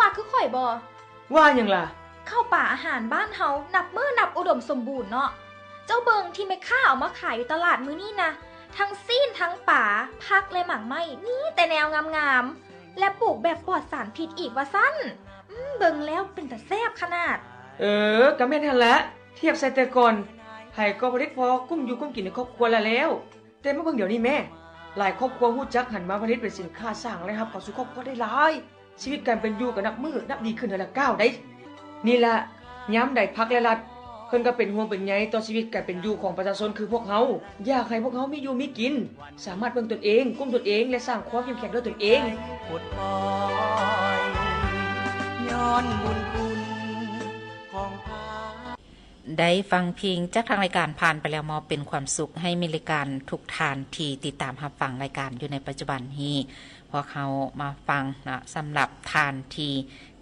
ວ່າຄືຂ້ອຍບໍ່? ວ່າຫຍັງລະ? ເຂົ້າປາອາຫານບ້ານເຮົານັບມື້ນັບອຸດົມສົມບູນເນາະ. ເຈົ້າເບິ່ງທີ່ແມ່ຄ້າເອົາມາຂາຍຢູ່ຕະຫຼາດມື້ນີ້ນະ, ທັງຊີ້ນ ທັງປາ, ຜັກ ແລະ ໝາກໄມ້ ມີແຕ່ແນວງາມໆ ແລະ ປູກແບບປອດສານພິດອີກວ່າຊັ້ນ. ອືມ ເບິ່ງແລ້ວເປັນຕາແຊບຂະໜາດ. ເອີ ກະແມ່ນຫັ້ນລະ, ທຽບໃສ່ແຕ່ກ່ອນ ໃຜກໍຜະລິດພໍກຸ້ມຢູ່ກຸ້ມກິນໃນຄອບຄົວລະແລ້ວ. ແຕ່ມາເບິ່ງດຽວນີ້ແມ້, ຫຼາຍຄອບຄົວຮູ້ຈັກຫັນມາຜະລິດເປັນສິນຄ້າ ສ້າງລາຍຮັບເຂົ້າສູ່ຄອບຄົວໄດ້ຫຼາຍ, ຊີວິດການເປັນຢູ່ກໍນັບມື້ນັບດີຂຶ້ນເທື່ອລະກ້າວໃດ໋. ນີ້ລະ ຍາມໃດພັກ ແລະ ລັດ ເພິ່ນກໍເປັນຫ່ວງເປັນໃຍຕໍ່ຊີວິດການເປັນຢູ່ຂອງປະຊາຊົນຄືພວກເຮົາ, ຢາກໃຫ້ພວກເຮົາມີຢູ່ມີກິນ, ສາມາດເບິ່ງຕົນເອງ, ກຸ້ມຕົນເອງ ແລະ ສ້າງຄວາມເຂັ້ມແຂງດ້ວຍຕົນເອງ. ໄດ້ຟັງເພງຈາກທາງລາຍການຜ່ານໄປແລ້ວ ມອບເປັນຄວາມສຸກໃຫ້ມິດລາຍການທຸກທ່ານທີ່ຕິດຕາມຮັບຟັງລາຍການຢູ່ໃນປັດຈຸບັນນີ້. ພວກເຮົາມາຟັງເນາະ ສຳລັບທ່ານທີ່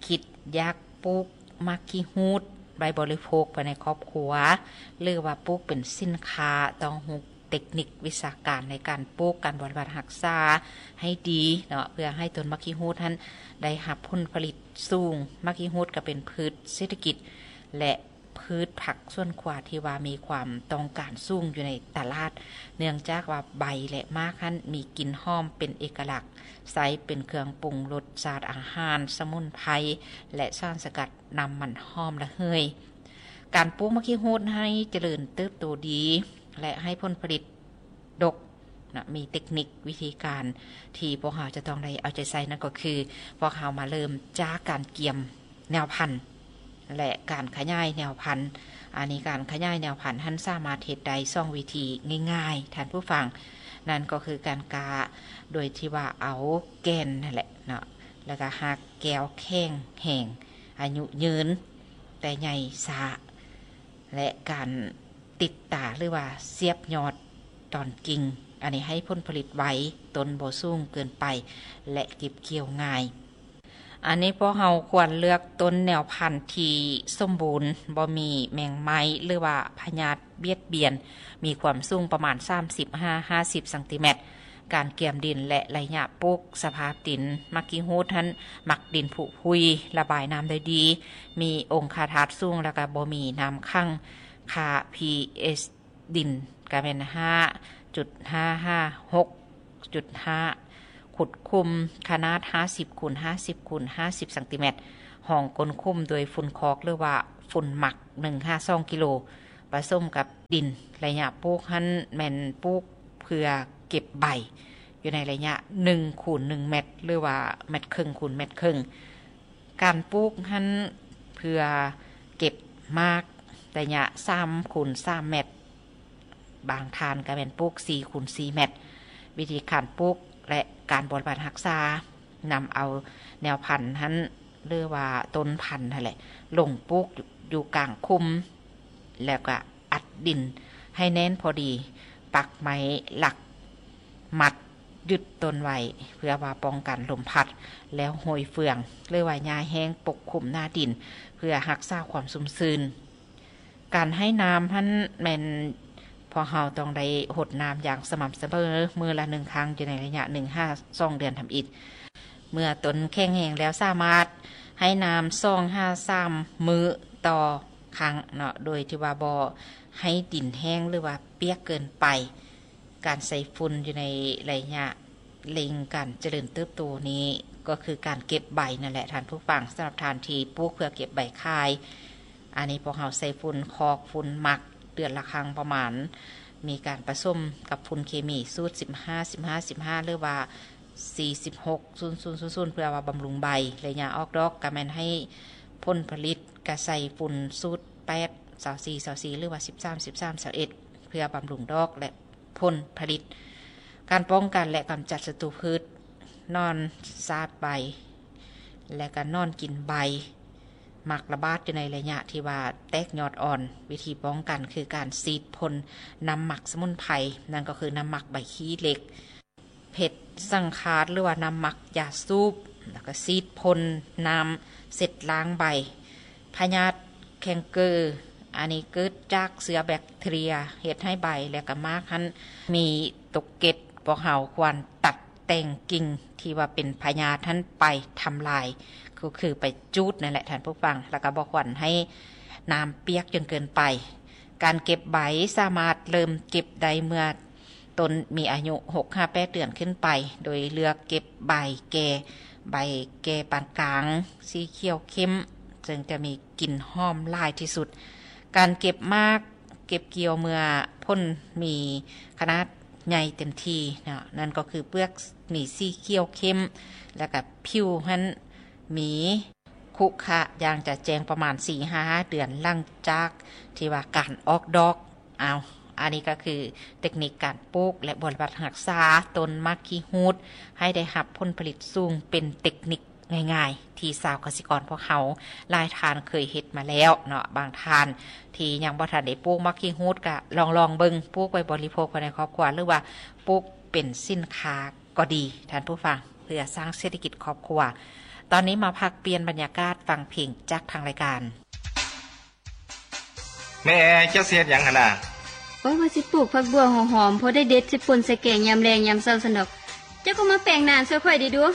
ຄິດຢາກປູກໝາກຂີ້ຫູດໄວ້ບໍລິໂພກພາຍໃນຄອບຄົວ ຫຼືວ່າປູກເປັນສິນຄ້າ ຕ້ອງຮູ້ເຕັກນິກວິຊາການໃນການປູກ ການບໍລິບັດຮັກສາໃຫ້ດີເນາະ ເພື່ອໃຫ້ຕົ້ນໝາກຂີ້ຫູດຫັ້ນໄດ້ຮັບຜົນຜະລິດສູງ. ໝາກຂີ້ຫູດກໍເປັນພືດເສດຖະກິດ ແລະ ພືດຜັກສວນຄົວທີ່ວ່າມີຄວາມຕ້ອງການສູງຢູ່ໃນຕະຫຼາດ, ເນື່ອງຈາກວ່າໃບ ແລະ ໝາກຫັ້ນມີກິ່ນຫອມເປັນເອກະລັກ, ໃຊ້ເປັນເຄື່ອງປຸງລົດຊາດອາຫານ, ສະໝຸນໄພ ແລະ ສານສະກັດນ້ຳມັນຫອມລະເຫີຍ. ການປູກໝາກຂີ້ຫູດໃຫ້ຈະເລີນເຕີບໂຕດີ ແລະ ໃຫ້ຜົນຜະລິດດົກ ນະ ມີເຕັກນິກວິທີການທີ່ພວກເຮົາຈະຕ້ອງໄດ້ເອົາໃຈໃສ່ ນັ້ນກໍຄື ພວກເຮົາມາເລີ່ມຈາກການກຽມແນວພັນ ແລະ ການຂະຫຍາຍແນວພັນ. ອັນນີ້ການຂະຫຍາຍແນວພັນຫັ້ນສາມາດເຮັດໄດ້ສອງວິທີງ່າຍໆ ທ່ານຜູ້ຟັງ, ນັ້ນກໍຄືການກະໂດຍທີ່ວ່າເອົາແກ່ນຫັ້ນແຫຼະເນາະ ແລ້ວກະຮາກແກ້ວແຂງແຮງ ອາຍຸຍືນ ແຕ່ໃຫຍ່ຊ້າ ແລະ ການ ຕິດຕາ ຫຼືວ່າສຽບຍອດຕອນກິ່ງ, ອັນນີ້ໃຫ້ຜົນຜະລິດໄວ, ຕົ້ນບໍ່ສູງເກີນໄປ ແລະ ເກັບກ່ຽວງ່າຍ. ອັນນີ້ພວກເຮົາຄວນເລືອກຕົ້ນແນວພັນທີ່ສົມບູນ, ບໍ່ມີແມງໄມ້ ຫຼືວ່າພະຍາດບຽດບຽນ, ມີຄວາມສູງປະມານສາມສິບຫາຫ້າສິບຊັງຕີແມັດ. ການກຽມດິນ ແລະ ໄລຍະປູກ, ສະພາບດິນ, ໝາກຂີ້ຫູດຫັ້ນມັກດິນຜຸຜຸຍ, ລະບາຍນ້ຳໄດ້ດີ, ມີອົງຄາທາດສູງ ແລ້ວກະບໍ່ມີນ້ຳຂັງ. ຄ່າ pH ດິນກະແມ່ນຫ້າຈຸດຫ້າຫາຫົກຈຸດຫ້າ, ຂຸດຂຸມຂະໜາດຫ້າສິບຄູນຫ້າສິບຄູນຫ້າສິບຊັງຕີແມັດ, ຮອງກົ້ນຂຸມດ້ວຍຝຸ່ນຄອກ ຫຼືວ່າຝຸ່ນໝັກ ໜຶ່ງຫາສອງກິໂລ, ປະສົມກັບດິນ. ໄລຍະປູກຫັ້ນແມ່ນປູກເພື່ອເກັບໃບ ຢູ່ໃນໄລຍະໜຶ່ງຄູນໜຶ່ງແມັດ ຫຼືວ່າແມັດເຄິ່ງຄູນແມັດເຄິ່ງ. ການປູກຫັ້ນເພື່ອເກັບໝາກໄລຍະສາມຄູນສາມແມັດ, ບາງທ່ານກໍແມ່ນປູກສີ່ຄູນສີ່ແມັດ. ວິທີການປູກ ແລະ ການບໍລິບັດຮັກສາ, ນຳເອົາແນວພັນຫັ້ນ ຫຼືວ່າຕົ້ນພັນຫັ້ນແຫຼະ ລົງປູກຢູ່ກາງຂຸມ ແລ້ວກະອັດດິນໃຫ້ແໜ້ນພໍດີ, ປັກໄມ້ຫຼັກ ມັດຍຶດຕົ້ນໄວ້ ເພື່ອວ່າປ້ອງກັນລົມພັດ ແລ້ວໂຫຍເຟືອງ ຫຼືວ່າຫຍ້າແຫ້ງປົກຄຸມໜ້າດິນ ເພື່ອຮັກສາຄວາມຊຸ່ມຊື່ນ. ການໃຫ້ນ້ຳຫັ້ນແມ່ນພວກເຮົາຕ້ອງໄດ້ຫົດນ້ຳຢ່າງສະໝ່ຳສະເໝີ ມື້ລະໜຶ່ງຄັ້ງ ຢູ່ໃນໄລຍະໜຶ່ງຫາສອງເດືອນທຳອິດ. ເມື່ອຕົ້ນແຂງແຮງແລ້ວ ສາມາດໃຫ້ນ້ຳສອງຫາສາມມື້ຕໍ່ຄັ້ງເນາະ ໂດຍທີ່ວ່າບໍ່ໃຫ້ດິນແຫ້ງ ຫຼືວ່າປຽກເກີນໄປ. ການໃສ່ຝຸ່ນຢູ່ໃນໄລຍະເລັ່ງການຈະເລີນເຕີບໂຕນີ້ ກໍຄືການເກັບໃບນັ້ນແຫຼະທ່ານຜູ້ຟັງ. ສຳລັບທ່ານທີ່ປູກເພື່ອເກັບໃບຂາຍ, ອັນນີ້ພວກເຮົາໃສ່ຝຸ່ນຄອກ, ຝຸ່ນໝັກ ເດືອນລະຄັ້ງປະມານ, ມີການປະສົມກັບຝຸ່ນເຄມີສູດສິບຫ້າ ສິບຫ້າ ສິບຫ້າ ຫຼືວ່າສີ່ສິບຫົກ ສູນ ສູນ ສູນ ເພື່ອວ່າບຳລຸງໃບ. ໄລຍະອອກດອກກໍແມ່ນໃຫ້ຜົນຜະລິດກໍໃສ່ຝຸ່ນສູດແປດ ຊາວສີ່ ຊາວສີ່ ຫຼືວ່າສິບສາມ ສິບສາມ ຊາວເອັດ ເພື່ອບຳລຸງດອກ ແລະ ຜົນຜະລິດ. ການປ້ອງກັນ ແລະ ກຳຈັດສັດຕູພືດ, ໜອນສາບໃບ ແລະ ກະໜອນກິນໃບ ມັກລະບາດຢູ່ໃນໄລຍະທີ່ວ່າແຕກຍອດອ່ອນ. ວິທີປ້ອງກັນຄືການສີດພົ່ນນ້ຳໝັກສະໝຸນໄພ, ນັ້ນກໍຄືນ້ຳໝັກໃບຂີ້ເຫຼັກ, ເພັດສັງຄາດ ຫຼືວ່ານ້ຳໝັກຢາສູບ, ແລ້ວກໍສີດພົ່ນນ້ຳເຊັດລ້າງໃບ. ພະຍາດແຄງເກີ ອັນນີ້ເກີດຈາກເຊື້ອແບັກທີເຣຍ ເຮັດໃຫ້ໃບ ແລະ ກະໝາກຫັ້ນມີຕົກເກັດ. ພວກເຮົາຄວນຕັດ ແຕ່ງກິ່ງທີ່ວ່າເປັນພະຍາດຫັ້ນໄປທຳລາຍ ກໍຄືໄປຈູດນັ້ນແຫຼະທ່ານຜູ້ຟັງ ແລ້ວກໍບໍ່ຄວນໃຫ້ນ້ຳປຽກຈົນເກີນໄປ. ການເກັບໃບສາມາດເລີ່ມເກັບໄດ້ເມື່ອຕົ້ນມີອາຍຸຫົກຫາແປດເດືອນຂຶ້ນໄປ ໂດຍເລືອກເກັບໃບແກ່ ໃບແກ່ປານກາງ ສີຂຽວເຂັ້ມ ເຊິ່ງຈະມີກິ່ນຫອມຫຼາຍທີ່ສຸດ. ການເກັບໝາກ ເກັບກ່ຽວເມື່ອຜົນມີຂະໜາດໃຫຍ່ເຕັມທີ່ເນາະ ນັ້ນກໍຄືເປືອກມີສີຂຽວເຂັ້ມ ແລ້ວກະຜິວຫັ້ນມີຂຸຂະຢ່າງຈະແຈ້ງປະມານສີ່ຫາຫ້າເດືອນຫຼັງຈາກທີ່ວ່າການອອກດອກ. ເອົາ ອັນນີ້ກໍຄືເຕັກນິກການປູກ ແລະ ບໍລິບັດຮັກສາຕົ້ນໝາກຂີ້ຫູດໃຫ້ໄດ້ຮັບຜົນຜະລິດສູງ ເປັນເຕັກນິກ ງ່າຍໆ ທີ່ຊາວກະສິກອນພວກເຮົາຫຼາຍທ່ານເຄີຍເຮັດມາແລ້ວເນາະ. ບາງທ່ານທີ່ຍັງບໍ່ທັນໄດ້ປູກໝາກຂີ້ຫູດ ກະລອງໆເບິ່ງ ປູກໄວ້ບໍລິໂພກພາຍໃນຄອບຄົວ ຫຼືວ່າປູກເປັນສິນຄ້າກໍດີທ່ານຜູ້ຟັງ ເພື່ອສ້າງເສດຖະກິດຄອບຄົວ. ຕອນນີ້ມາພັກປ່ຽນບັນຍາກາດຟັງເພງຈາກທາງລາຍການ. ແມ່ແອ ເຈົ້າຊິເຮັດຫຍັງຫັ້ນນະ? ໂອ້ຍ ວ່າຊິປູກຜັກບົ່ວຫົວຫອມ ພໍໄດ້ເດັດໃສ່ປົ່ນໃສ່ແກງຍາມແລງຍາມເຊົ້າຊັ້ນດອກ. ເຈົ້າກໍມາແປງນາຊ່ວຍຂ້ອຍເດ້ດູ.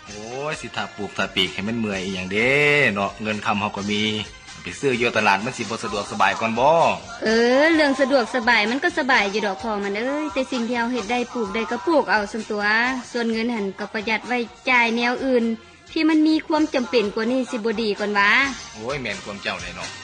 ໂອ້ຍ ຊິຖ້າປູກຖ້າປີກໃຫ້ມັນເມື່ອຍອີ່ຫຍັງເດ້ເນາະ ເງິນຄຳເຮົາກໍມີ ໄປຊື້ຢູ່ຕະຫຼາດມັນຊິບໍ່ສະດວກສະບາຍກ່ອນບໍ? ເອີ ເລື່ອງສະດວກສະບາຍມັນກໍສະບາຍຢູ່ດອກພໍ່ມັນເອີຍ ແຕ່ສິ່ງທີ່ເຮົາເຮັດໄດ້ ປູກໄດ້ກໍປູກເອົາຊັ້ນຕົວະ ສ່ວນເງິນຫັ້ນກໍປະຢັດໄວ້ຈ່າຍແນວອື່ນ ທີ່ມັນມີຄວາມຈຳເປັນກວ່ານີ້ຊິບໍ່ດີກ່ອນຫວາ? ໂອ້ຍ ແມ່ນຄວາມເຈົ້າແຫຼະເນາະ.